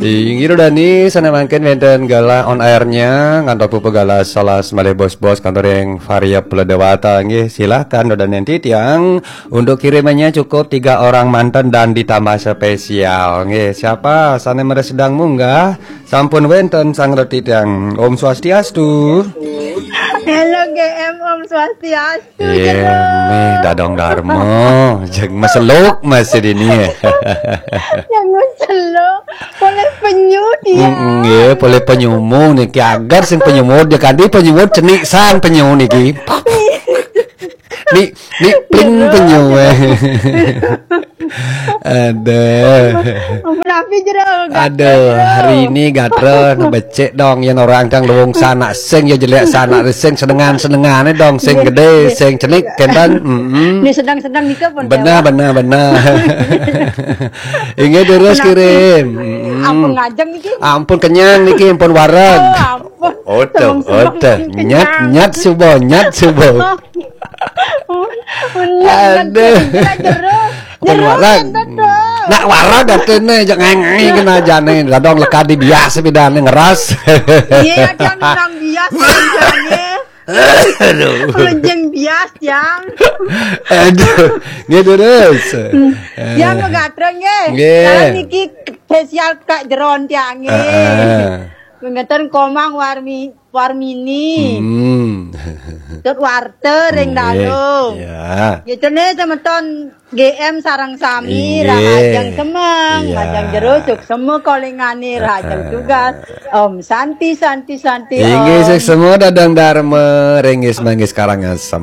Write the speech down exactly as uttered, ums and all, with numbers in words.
Inggih Dani, sané mangkin wénten galah on airnya, ngantos puput galah salah malih bos-bos kantor ring Varia Pula Dewata. Nggih, silakan Dani titiang untuk kirimannya cukup tiga orang manten dan ditambah spesial. Nggih, siapa sané mara sedang munggah? Sampun wénten sang titiang. Om Swastiastu. Halo G M, Om Swastiastu. Iya, Jero. Mih dadong darma, jeg maseluk masih dini. Yang maseluk, boleh penyu dia. Mm-mm, iya, boleh penyumu niki, agar sing penyumu dia kanti penyumu cenik san penyu niki. Ni ni pling Jero. Penyu eh. Aduh. Ampun api Jero, gatra, Aduh, Jero. Hari ini gatra becik dong, yang orang tang luwung sanak sing ya jelek sanak sing senengan-senengane dong, sing Nggih, gede, nggih. Sing cenik, kenten. Mm-mm. Ini sedang-sedang nika pun Benar, lewat. Benar, benar. Inggih terus Ampun api. Kirim. Mm-mm. Ampun ngajeng niki. Ampun kenyang niki, ampun wareg. Oh, ampun. Oto, Semeng-semeng oto. Niki Nyat, kenyang. Nyat subo, nyat subo. Aduh. Aduh. Ampun Jero, wareg. Jero, enten dong. Nak wareg katene, jak ngai-ngai kena jane. Dadong lekadi bias bedane ngeras. Iya, ada yang nang bias jane. Aduh. Lejeng bias, yang. Aduh, nggih terus. Yang megatra nggih. Nggih. Sekarang niki spesial Kak Jeron tiange. Heeh. Ngeten Komang Warmi Warmini. Hmm. Tut Warte ring Nggih. Dalem. Ya. Gitu nih temeton G M sareng sami, Inggih. Rahajeng semeng, Iya. Rahajeng Jero, suksema kolingane, Rahajeng Heeh. Tugas. Om Santi, Santi, Santi, Inggih, Om. Suksema dadong darma, ringgis manggis Karangasem.